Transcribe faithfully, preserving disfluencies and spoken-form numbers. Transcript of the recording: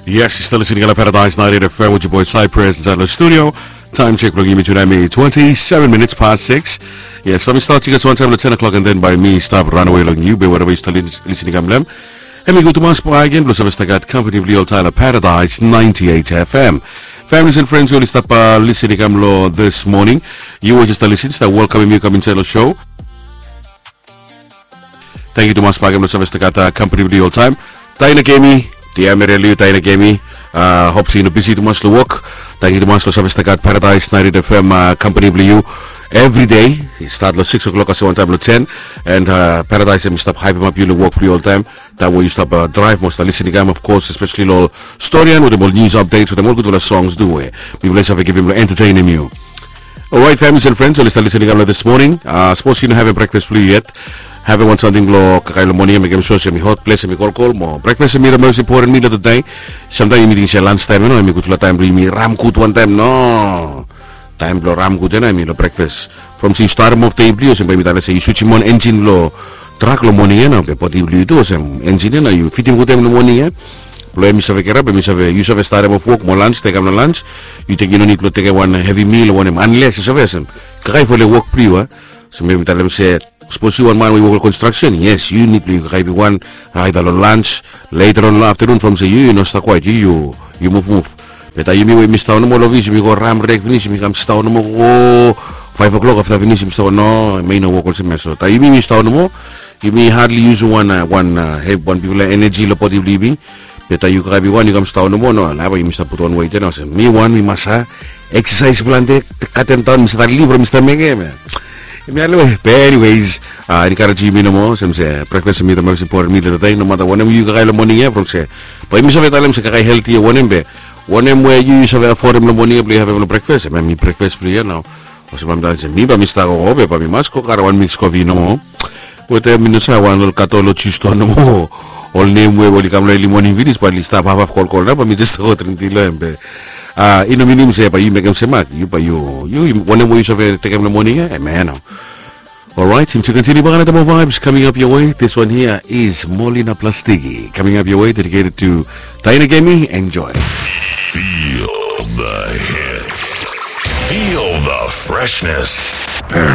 Yes, yu stap listening long Paradise ninety-eight F M with your boy Cypress inside the studio. Time check blong yumi tude mi twenty-seven minutes past six. Yes, from mi start tikas wantaem long ten o'clock and then by mi stap ranawe long yu be wherever yu stap listening kam lem. Hem i gud tumas bae gen blong save stap gat company blong yu oltaem long Paradise ninety-eight F M. Families and friends we oli stap listening kam long this morning. Yu we just stap listening stap welkamem yu kam insait long show. Tangkiu tumas bae gen blong save stap gat company blong yu oltaem. Taina Kemi, Diamere Liu, Taina Kemi. Hop se yu no bisi tumas long wok. Tangkiu tumas blong save stap gat Paradise ninety-eight F M company blong yu. Everyday i stat long six o'clock kasem wantaem long ten. And Paradise hem i stap haepemap yu long wok blong yu oltaem. Taem we yu stap draev mo stap listening kam, of course, especially long ol storian wetem ol news updates wetem ol gudfala songs tu we mifala i save givim blong entertainem yu. Orait, families and friends oli stap listening kam long this morning. Sapos yu no havem brekfas blong yu yet, havem wan samting blong kakae long moning ya, mekem sua se hem i hot, ples hem i kolkol mo brekfas hem i the most important meal of the day. Samtaem yumi ting se lans taem ya no hem i gudfala taem blong yumi ram gud wantaem no. Taem blong ram gud ya no hem i long brekfas. From se yu starem of dei blong yu olsem bae yumi talem se yu switchim on enjin blong trak long moning ya no be bodi blong yu tu olsem enjin ya no yu fitim gud hem long moning ya. Blong hem i save kirap hem i save yu save starem of wok mo lans tekem long lans. Yu tek yu no nid blong tekem wan hevi mil o wanem anles yu save olsem kakae fo long wok blong yu a. Olsem bae yumi talem se sapos yu wan man we yu wok long konstraksen, yes, yu nid blong yu kakae blong yu wan aeda long lans, leta long aftanun from se yu yu no stap kwaet yu yu yu muvmuv. Be taem yumi we yumi stap nomo long ofis yumi go ram rek finis yumi kam stap nomo go faef o'klok afta finis yumi stap no, em i no wok olsem ya. So taem yumi yumi stap nomo yumi hadli yusum wan wan wan bigfala eneji long bodi blong yumi. Be taem yu kakae blong yu wan yu kam stap nomo no, nao bae yumi stap putum wan wet ya nao olsem mi wan mi mas a eksasaes plante, katem daon mi stap liv from mi stap mekem ya. Em ya lo we be anyways, encourage yumi nomo olsem se brekfas hem i the most important meal of the day. Nomata wanem yu kakae long moning ya from se bae yumi save talem se kakae helti ya wanem be wanem we yu yu save afodem long moning ya blong yu havem long brekfas, em hem i brekfas blong yu ya nao. Olsem bae mi talem se mi bae mi stap gogo be bae mi mas go karem wan miks kofi nomo. Wetem mi no save wan ol katol o jus to nomo. Ol nem we oli kam long eli moning finis bae oli stap hafhaf kolkol nao bae mi jes go dring ti long hem be i no minim se bae yu mekem se mak yu bae yu yu wanem we yu save tekem long moning ya, em ya nao. Alright, yumi tu kontiniu bak another more vibes coming up your way. This one here is Molina Plastiki coming up your way, dedicated to Taina Kemi. Enjoy. Feel the hits. Feel the freshness. Paradise.